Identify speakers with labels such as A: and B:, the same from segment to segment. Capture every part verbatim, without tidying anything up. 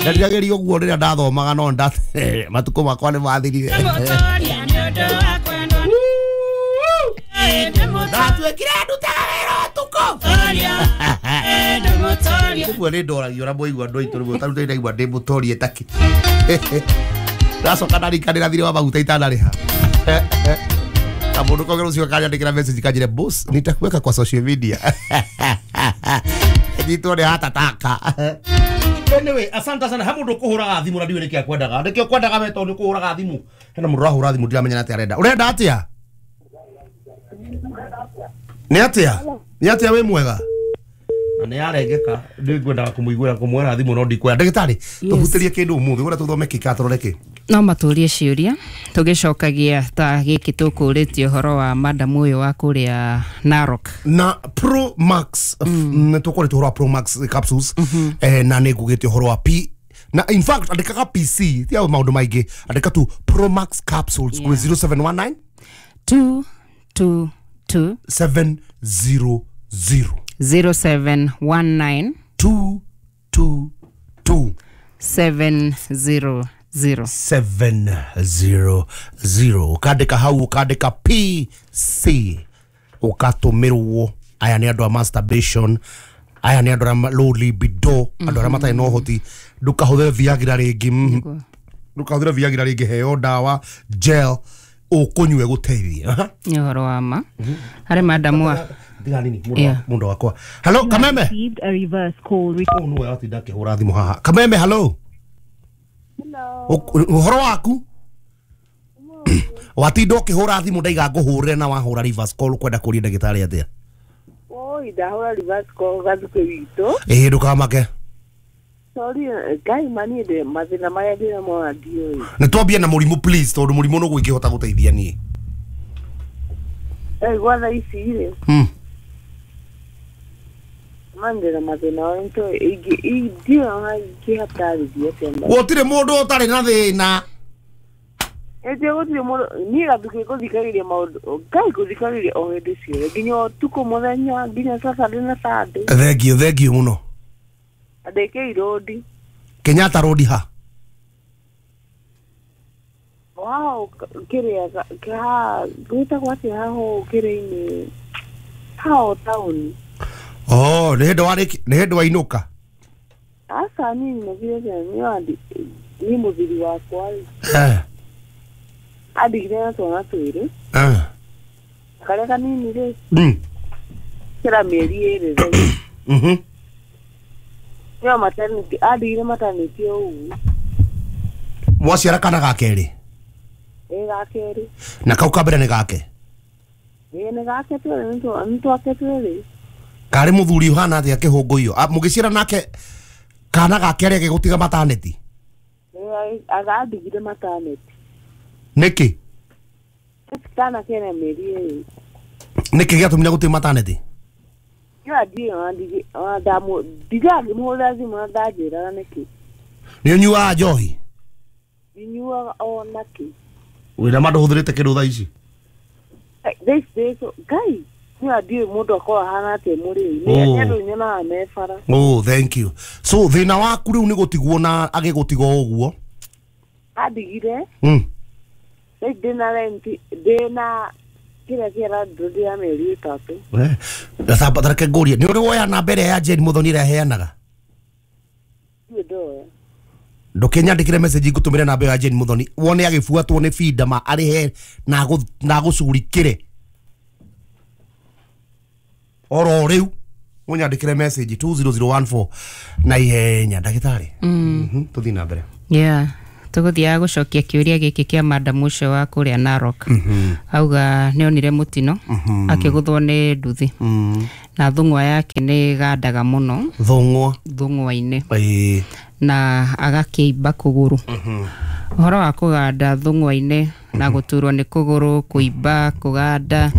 A: Ndarirageria ũguo rĩrĩa ndathomaga no nda matukũ makwa nĩ mathirire. Ndatuĩkire ndutaga wĩra ũtukũ. Ũguo nĩ ndoragio na mwaigua andũ aitũ rĩmwe tarĩu ndaigua ndĩ mũtorie taki. Ndacoka ndarikanĩra thirĩ wa maguta itanarĩha. Na mũndũ kongera ũcio akanyandĩkĩra message kanjĩre boss nitakuweka kwa social media. Nyitwo nĩ hatataka. Anyway, asante sana. He mũndũ ũkũhũraga thimũ na ndiũĩ nĩkĩ akwendaga. Nĩkĩ ũkwendaga we tondũ nĩ ũkũhũraga thimũ. Hena mũndũ ũrahũra thimũ ndiramenya atĩa arenda. Ũrenda atĩa? Nĩ atĩa? Nĩ atĩa wĩ mwega? Na nĩ arengeka ndingwendaga kũmũiguĩra kũmwĩra thimũ no ndikwenda. Ndagĩtarĩ, tũhutĩrie kĩndũ ũmũthĩ ũrĩa tũthome kĩ kana tũrore kĩ?
B: No matũrie ciũria tũgĩcokagia ta gĩkĩ tũkũrĩtie ũhoro wa madam ũyũ wa kũrĩa Narok
A: na Pro Max mm. Nĩ tũkoretwo ũhoro wa Pro Max capsules mm -hmm. Eh, na nĩ ngugĩte ũhoro wa P na in fact andĩkaga P C ti maũndũ maingĩ andĩka tu Pro Max capsules yeah. zero seven one nine
B: two two two
A: seven zero zero
B: zero seven one nine
A: two two two
B: seven zero zero
A: seven zero zero. Ukandika hau ukandika P C ukatũmĩrwo. Aya nĩ andũ a masturbation, aya nĩ andũ a low libido, andũ arĩa matarĩ na ũhoti. Ndũkahũthĩre Viagra rĩngĩ, ndũkahũthĩre Viagra rĩngĩ, heo ndawa gel ũkũnyue gũteithia.
B: Nĩ ũhoro wa ma harĩ madamu wa
A: tiga nini mũndũ wakwa. Hello Kameme.
C: A reverse call.
A: Oh no, atinda akĩhũra thimũ haha. Kameme, hello. Ũhoro waku? Watinda ũkĩhũra thimũ ndaiga ngũhũrĩre na wahũra reverse call ũkwenda kũria ndagĩtarĩ atĩa?
C: Oi, ndahũra reverse call gathukĩ witũ.
A: Ĩĩ ndũkamake.
C: Sorry, Ngai mani ndĩ mathĩna marĩa ndĩnamo na ndiũĩ.
A: Nĩ twambie na mũrimũ please tondũ mũrimũ nĩguo ingĩhota gũteithia niĩ.
C: Eh, gwa thaa ici rĩ.
A: Mm.
C: Mandĩra mathĩna marĩa nĩtũĩ ingĩ ndiũĩ ona ingĩhatarĩria atĩa.
A: Gũtirĩ mũndũ ũtarĩ na thĩna.
C: Ĩndĩ gũtirĩ mũndũ niĩ gathukĩ gũthikagĩrĩria maũndũ Ngai gũthikagĩrĩria o hĩndĩ ciothe nginya ũtukũ mũthenya nginya Saturday na Sunday.
A: Thank you, thank you mũno.
C: Andĩkĩi road.
A: Kenyatta road ha?
C: Wow, kĩrĩa ha gwĩtagwo atĩa haho kĩrĩa-inĩ haho taũni.
A: Oh, nĩ hĩndĩ warĩki nĩ hĩndĩ wainũka?
C: Aca niĩ nyinũkire tene niĩ mũthuri wakwa rĩ.
A: Eh.
C: Andigire na twana twĩrĩ.
A: Eh.
C: Karĩa kanini rĩ.
A: Mm.
C: Kĩra mĩeri ĩrĩ rĩ.
A: Mhm.
C: Nĩo maternity andigire maternity ũguo.
A: Mwaciara kana ga kerĩ?
C: Ĩ ga kerĩ.
A: Na kau ka mbere nĩ gake?
C: Ĩ nĩ gake twĩrĩ nĩ twake twĩrĩ.
A: Karĩ mũthuri ũhana atĩa kĩhũngũiyo? Mũgĩciara nake kana ga kerĩ agĩgũtiga maternity?
C: Ĩ agandigire maternity.
A: Nĩkĩ?
C: Kana kena mĩeri ĩrĩ.
A: Nĩkĩ gĩatũmire gũtiga maternity?
C: Niĩ ndiũĩ ona ndamũ ndigangĩmũhũrĩra thimũ na ndanjĩraga nĩkĩ.
A: Nĩ ũnyuaga njohi?
C: Ndinyuaga ona kĩ.
A: Wĩna ma ndũhũthĩrĩte kĩndũ thaa ici?
C: Thaa ici Ngai niĩ ndiũĩ mũndũ akoragwo ahana atĩa mũrĩu. Nĩ andũ nyonaga me bara.
A: Oh, thank you. So thĩna waku rĩu nĩ gũtigwo na agĩgũtiga o ũguo?
C: Andigire.
A: Mm.
C: Rĩu ndĩna rent ndĩna kĩrĩa kĩa landlord ya mĩeri ĩtatũ.
A: Eh, ta reke ngũrie nĩ ũrĩ woya namba ĩrĩa ya Jane Muthoni ĩrĩa aheanaga?
C: Ndiũĩ ndoya.
A: Ndũkĩnyandĩkĩre message ngũtũmĩre namba ĩyo ya Jane Muthoni wone agĩbuatwo nĩ binda ma arĩhe na agũcugurikĩre oro rĩu ũnyandĩkĩre message two zero zero one four na ihenya ndagĩtarĩ. Mhm, tũthiĩ na mbere.
B: Yeah. Tũgũthiaga gũcokia kĩũria gĩkĩ kĩa madam ũcio wa kũrĩa Narok. Auga nĩ onire mũtino akĩgũthwo nĩ nduthi. Na thũng'wa yake nĩ ĩgandaga mũno.
A: Thũng'wa?
B: Thũng'wa-inĩ.
A: Ĩĩ.
B: Na agakĩimba kũgũrũ. Ũhoro wa kũganda thũng'wa-inĩ na gũturwo nĩ kũgũrũ, kũimba, kũganda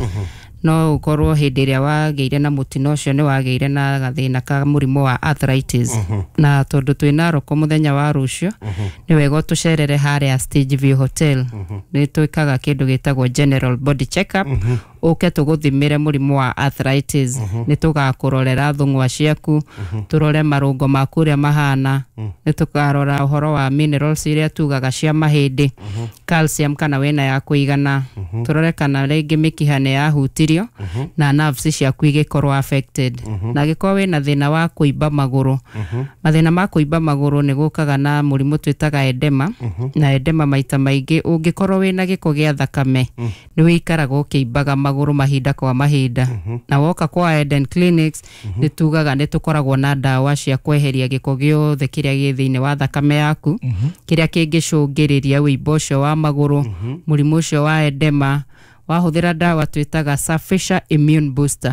B: no ũkorwo hĩndĩ ĩrĩa wagĩire na mũtino ũcio nĩ wagĩire na gathĩna ka mũrimũ wa arthritis. Na tondũ twĩ Narok mũthenya wa rũciũ nĩ wega ũtũcerere harĩa Stage View Hotel. Nĩ twĩkaga kĩndũ gĩtagwo general body check up Ũke tũgũthimĩre mũrimũ wa arthritis. Nĩ tũgakũrorera thũng'wa ciaku, tũrore marũngo maku ũrĩa mahana, nĩ tũkarora ũhoro wa minerals iria tugaga cia mahĩndĩ, calcium kana wĩna ya kũigana, tũrore kana rĩngĩ mĩkiha nĩ yahutirio na nerves ciaku igĩkorwo affected. Na angĩkorwo wĩna thĩna wa kũimba magũrũ, mathĩna ma kũimba magũrũ nĩ gũkaga na mũrimũ twĩtaga edema. Na edema maita maingĩ ũngĩkorwo wĩna gĩko gĩa thakame nĩ wĩikaraga ũkĩimbaga magũrũ mahinda kwa mahinda. Na woka kwa Eden Clinics nĩ tugaga nĩ tũkoragwo na ndawa cia kweheria gĩko gĩothe kĩrĩa gĩ thĩinĩ wa thakame yaku, kĩrĩa kĩngĩcũngĩrĩria wĩimbo ũcio wa magũrũ, mũrimũ ũcio wa edema. Wahũthĩra ndawa twĩtaga Surfacer Immune Booster,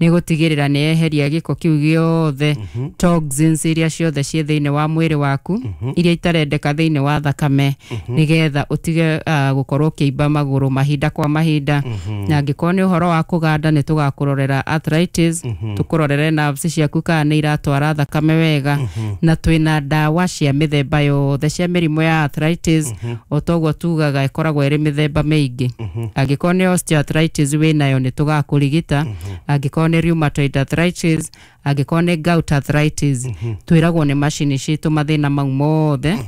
B: nĩ gũtigĩrĩra nĩ yeheria gĩko kĩu gĩothe, toxins iria ciothe ciĩ thĩinĩ wa mwĩrĩ waku iria itarendeka thĩinĩ wa thakame, nĩgetha ũtige uh, gũkorwo ũkĩimba magũrũ mahinda kwa mahinda. Na angĩkorwo nĩ ũhoro wa kũganda, nĩ tũgakũrorera arthritis, tũkũrorere nerves ciaku kana nĩ iratwara thakame wega. Na twĩna ndawa cia mĩthemba yothe cia mĩrimũ ya arthritis, o toguo tugaga ĩkoragwo ĩrĩ mĩthemba mĩingĩ. Angĩkorwo nĩ osteoarthritis wĩnayo, nĩ tũgakũrigita. Angĩkorwo nĩ rheumatoid arthritis, angĩkorwo nĩ gout arthritis, twĩragwo nĩ macini citũ mathĩna mau mothe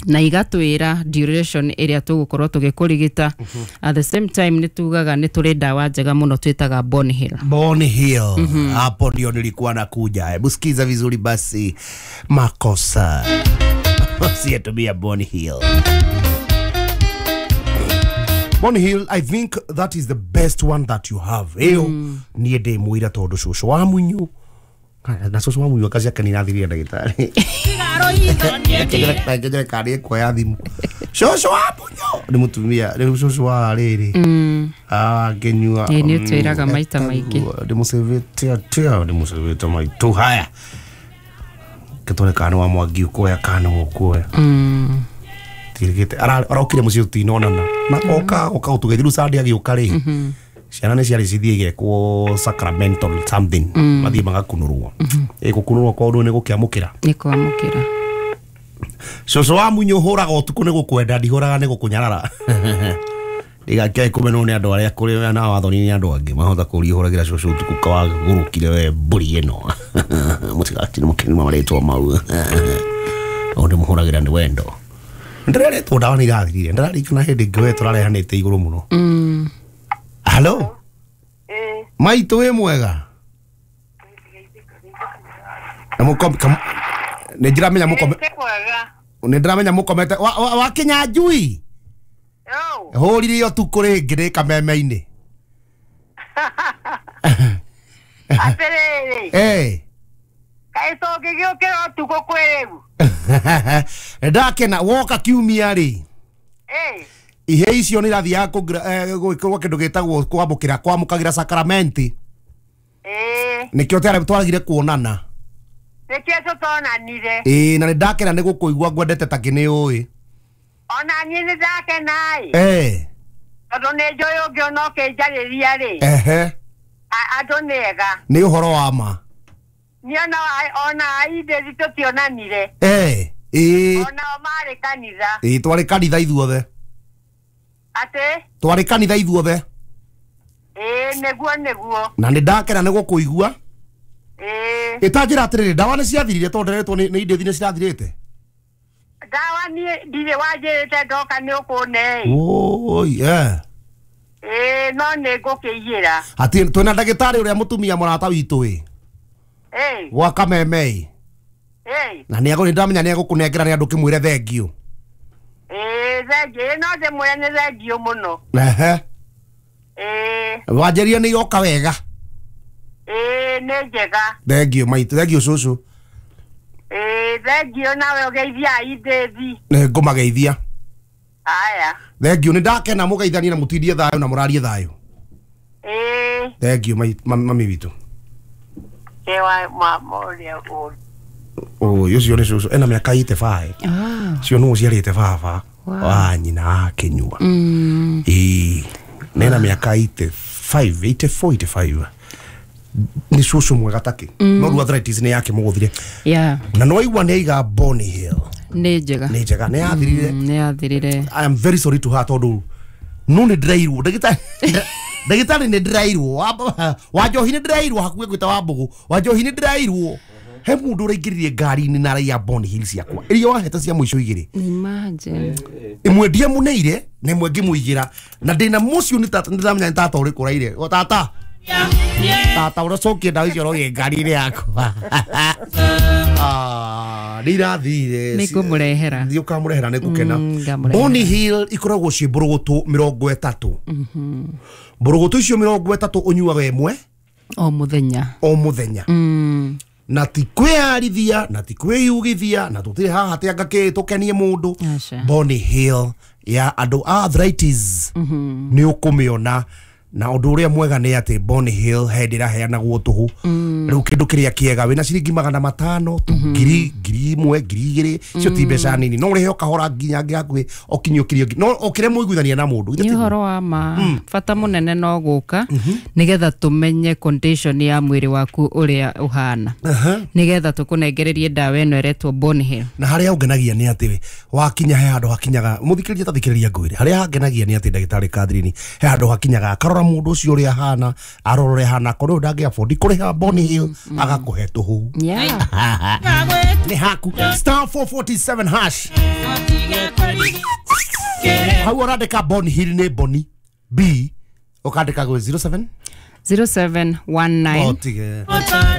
B: na igatwĩra duration ĩrĩa tũgũkorwo tũgĩkũrigita. At the same time nĩ tugaga nĩ tũrĩ ndawa njega mũno twĩtaga Bone Heal.
A: Bone Hill. Hapo ndio nilikuwa nakuja. Hebu sikiza vizuri basi, makosa usiyetumia Bone Hill. Bone Hill, I think that is the best one that you have. Ĩyo niĩ ndĩ mũira tondũ cũcũ wa munyu na cũcũ wa munyu akaci ake nĩrathirie ndagĩtarĩ ngĩnjere kandi ĩkuoya thimũ. Cũcũ wa munyu nĩ mũtumia, nĩ cũcũ wa rĩrĩ ngĩnyua.
B: Ĩĩ, nĩ ũtwĩraga maita maingĩ.
A: Ndĩmũcĩvĩte atĩa, ndĩmũcĩvĩte maitũ. Haya, gĩtware kana wa Mwangi ũkuoya kana ũkuoya tirigite arokire mũciĩ tũtinonana na oka oka ũtũgethi rĩu Sunday agĩũka rĩ, ciana nĩ ciarĩ cithiĩ igekwo sacramental something, mathiĩ magakunũrwo. Ĩ gũkunũrwo kwa ũndũ nĩ gũkĩamũkĩra.
B: Nĩ kwamũkĩra.
A: Cũcũ wa munyu hũraga ũtukũ nĩ gũkwenda, ndihũraga nĩ gũkũnyarara. Ndigakĩae kũmenwo nĩ andũ arĩa kũrĩ na wathoni nĩ andũ angĩ mahota kũria hũragĩra cũcũ ũtukũ kawagũrũkire we mbũri ĩno. Mũtigatinĩ mũkĩnuma marĩtwa mau, o ndĩmũhũragĩra nĩ wendo. Ndĩreretwo ndawa nĩ irathirire, ndĩrarikana hĩndĩ ĩngĩ we tũrarehanĩte igũrũ mũno. Halo, maitũ, wĩ mwega? Na mũkome nĩ ndiramenya mũkome, nĩ ndĩramenya mũkomete wakinya njui hũrire ũtukũ rĩngĩ rĩ kameme-inĩ.
C: Atĩrĩrĩ,
A: eh
C: kaĩ tũngĩgĩũkĩra ũtukũ kwĩ rĩu?
A: Ndakena woka kiumia rĩ,
C: Eh,
A: ihe icio nĩ irathiaga gwĩkĩrwo kĩndũ gĩtagwo kwamũkĩra kwamũkagĩra sakramenti.
C: Eh,
A: nĩkĩo twarĩ twaragire kuonana.
C: Nĩkĩo tũtonanire.
A: Ĩĩ, na nĩ ndakena nĩ gũkũigua, ngwendete ta kĩ nĩ ũĩ.
C: Ona niĩ nĩ ndakena ĩ,
A: eh
C: tondũ nĩ njũĩ ũngĩona ũkĩnjarĩria rĩ,
A: ehe
C: a- andũ nĩ ega.
A: Nĩ ũhoro wa ma.
C: Niĩ ona ona aindĩri tũtionanire.
A: Eh, ĩĩ.
C: Onao marĩ kanitha.
A: Ĩĩ, twarĩ kanitha ithuothe.
C: Atĩ?
A: Twarĩ kanitha ithuothe.
C: Ĩĩ, nĩguo nĩguo.
A: Na nĩ ndakena nĩ gũkũigua.
C: Ĩĩ.
A: Ĩtanjĩra atĩrĩrĩ, ndawa nĩ ciathirire? Tondũ ndĩretwo nĩ nĩ indĩthi nĩ cirathirĩte.
C: Ndawa niĩ ndirĩ wanjĩrĩte ndoka nĩ ũkũne ĩ.
A: Oi, eh
C: Ĩĩ, no nĩ ngũkĩiyĩra.
A: Atĩ twĩna ndagĩtarĩ ũrĩa mũtumia mũrata witũ ĩ
C: Ĩĩ.
A: gwa kameme ĩ.
C: Ĩĩ.
A: Na nĩ agũ ndamenya nĩ egũkũnengera nĩ andũ kĩmwĩre thengiũ.
C: Ĩĩ, thengiũ. Ĩĩ, no ndĩmwĩre nĩ thengiũ mũno.
A: Ehe.
C: Ĩĩ.
A: Wanjĩria nĩ iroka wega.
C: Ĩĩ, nĩ njega.
A: Thengiũ maitũ, thengiũ cũcũ.
C: Ĩĩ, thengiũ, nawe ũgeithia aindĩthi.
A: Nĩ ngũmageithia.
C: Aya.
A: Thengiũ, nĩ ndakena. Mũgeithanie na mũtindie thayũ na mũrarie thayũ.
C: Ĩĩ.
A: Thengiũ mami witũ.
C: Kewa mama ũrĩa ũru.
A: Ũyũ ũcio nĩ cũcũ ena mĩaka eighty-five.
B: Ah.
A: Cio nũ ũciarĩte baba
B: Wow.
A: wa nyina akĩnyua.
B: Mm.
A: Ĩĩ, na ena mĩaka eighty-five, eighty-four, eighty-five. Nĩ cũcũ mwega takĩ, no rĩu arthritis nĩ yakĩmũgũthire.
B: Yeah.
A: Na nĩ waigua nĩ aiga Bone Hill.
B: Nĩ njega.
A: Nĩ njega, nĩ yathirire.
B: Mm, nĩ yathirire.
A: I am very sorry to her tondũ no nĩ ndĩrairwo ndagĩtarĩ Ndagĩtarĩ nĩ ndĩrairwo wa njohi nĩ ndĩrairwo hakuhĩ gwĩta wa mbũgũ wa njohi nĩ ndĩrairwo he mũndũ ũraingĩririe ngari-inĩ na araiya Bond Hills ciakwa iria wahete cia mũico igĩrĩ.
B: Imagine.
A: Ĩmwe ndiamũneire na ĩmwe ngĩmũigĩra na ndĩna mũcio nĩ tata nĩndĩramenya nĩ tata ũrĩkũ ũraire o tata tata ũracokia ndawa icio ũroiye ngari-inĩ yakwa. Ah, nĩ irathire.
B: Nĩ ngũmũrehera.
A: Nĩ ũkamũrehera nĩ ngũkena. Boni Hill ikoragwo ciĩ mbũrũgũtũ mĩrongo ĩtatũ. Mbũrũgũtũ icio mĩrongo ĩtatũ ũnyuaga ĩmwe
B: o mũthenya.
A: O mũthenya. Na ti kwĩyarithia na ti kwĩyugithia na tũtirĩ haha atĩ anga kĩ tũkenie mũndũ. Boni Hill ya andũ a arthritis nĩ ũkũmĩona na ũndũ ũrĩa mwega nĩ atĩ Boni Hill he ndĩraheanagwo tũhũ. Rĩu kĩndũ kĩrĩa kĩega wĩna ciringi magana matano tu ngiri ngiri ĩmwe ngiri igĩrĩ icio ti mbeca nini no ũrĩhe o kahora nginya hakuhĩ ũkinyũkirie no ũkĩre mũiguithania na mũndũ.
B: Nĩ ũhoro wa ma bata mũnene no gũka nĩgetha tũmenye condition ya mwĩrĩ waku ũrĩa ũhana nĩgetha tũkũnengererie ndawa ĩno ĩretwo Boni Hill.
A: Na harĩa ũngenagia nĩ atĩ wakinya he handũ hakinyaga mũthikĩrĩria ta thikĩrĩria ngwĩre harĩa hangenagia nĩ atĩ ndagĩtarĩ Catherine he handũ hakinyaga akarora mũndũ ũcio ũrĩa ahana arora ũrĩa ahana akorwo ndangĩ afford kũrĩha Boni Hill agakũhe tũhũ. Nĩ haku star four forty-seven hash hau ũrandĩka Boni Hill nĩ Boni B ũkandĩka gwĩ zero seven
B: zero seven one nine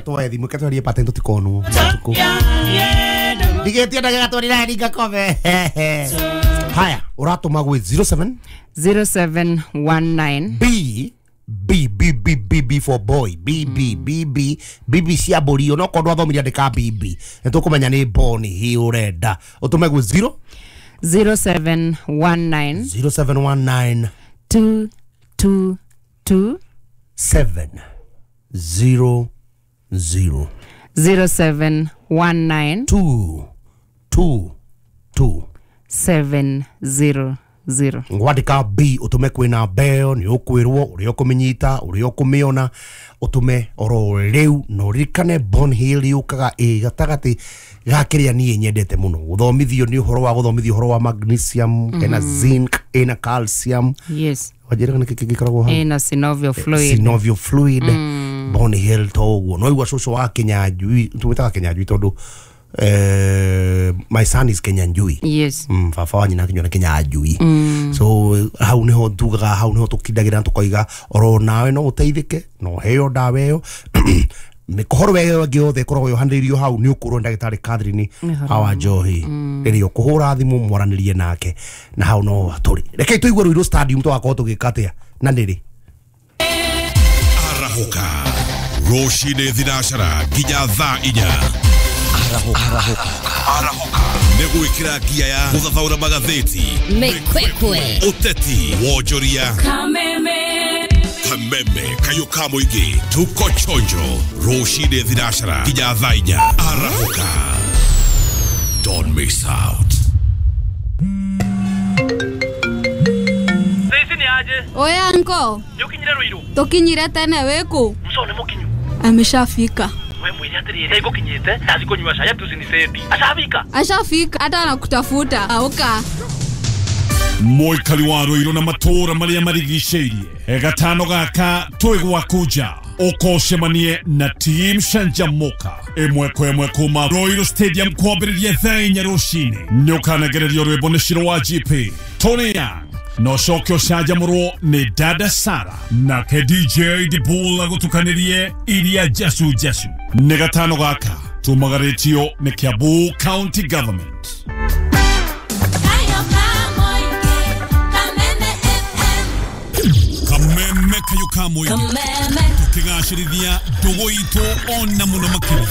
A: twoe thimũ ketwarie patent tũtikonwo matukũ ndigĩtie ndagĩka twarira ngakome. Haya ũratũma gwĩ zero seven
B: zero seven one nine
A: B B B B B B for boy B B B B B B cia mbũri ona okorwo ndwathomire andĩka B B nĩ tũkũmenya nĩ Boni Hill ũrenda ũtũme gwĩ zero
B: zero seven one nine
A: zero seven one nine
B: two two two
A: seven zero zero
B: zero seven one nine
A: two two two
B: seven zero zero.
A: Ngwandĩka B ũtũme kwĩna mbeo nĩ ũkwĩrwo ũrĩa ũkũmĩnyita ũrĩa ũkũmĩona ũtũme oro rĩu na ũririkane Boni Hill yũkaga ĩ gatagatĩ ga kĩrĩa niĩ nyendete mũno gũthomithio nĩ ũhoro wa gũthomithio ũhoro wa magnesium ĩna zinc ĩna calcium.
B: Yes.
A: Wanjĩraga nĩkĩ kĩngĩ gĩkoragwo hau
B: ĩna synovial fluid.
A: Synovial fluid. Boni Hill to ũguo no igua cũcũ wa Kĩnyanjui tũmĩtaga Kĩnyanjui tondũ Uh, my son is Kenyanjui.
B: Yes.
A: Mm, baba wa nyina akinywa na Kenyanjui. Mm. So hau niho ndugaga hau niho tukindagira tukoiga oro nawe no uteithike no heo ndawa ĩyo mĩkohoro ĩyo ĩngĩ yothe ĩkoragwo yohanĩrĩirio hau nĩ ũkũrwo ndagĩtarĩ Catherine Hawa Njohi rĩrĩa ũkũhũra thimũ mwaranĩrie nake na hau no tũrĩ. Rekei tũigue Ruiru Stadium tũgakorwo tũgĩka atĩa na nĩrĩ
D: Arahũka rũcinĩ thinacara nginya thaa inya. Arahũka Arahũka nĩ gwĩkĩra ngia ya gũthathaũra magathĩti
E: Mĩkwekwe
D: ũteti wonjoria
E: Kameme
D: Kameme kayũ ka mũingĩ tuko chonjo rũcinĩ thinacara nginya thaa inya. Arahũka, don't miss out.
F: Oya anko
G: nĩũkinyire Ruiru
F: tũkinyire tene wĩkũ
G: mũco nĩ mũkinyu
F: ameshafika.
G: We mwĩre atĩrĩrĩ ngũkinyĩte ndathi kũnyua cai atucinicendi ashafika
F: ashafika hata anakutafuta auka
D: Mũikari wa Ruiru na matũũra marĩa marigicĩirie gatano gaka twĩ gwaku nja ũkocemanie na team Canjamuka ĩmwe kwa ĩmwe kuma Ruiru Stadium kwambĩrĩria thaa inya rũcinĩ nĩ ũkanagererio rwĩmbo nĩ Shiro wa G P Tony Young no coke ũcanjamũrwo nĩ Dada Sara nake D J Dibul agũtukanĩrie iria njacu njacu nĩ gatano gaka tumagarĩtio nĩ Kiambu County Government. Kameme kayũ ka mũingĩ tũkĩgacĩrithia ndũgũ itũ ona mũno makĩria.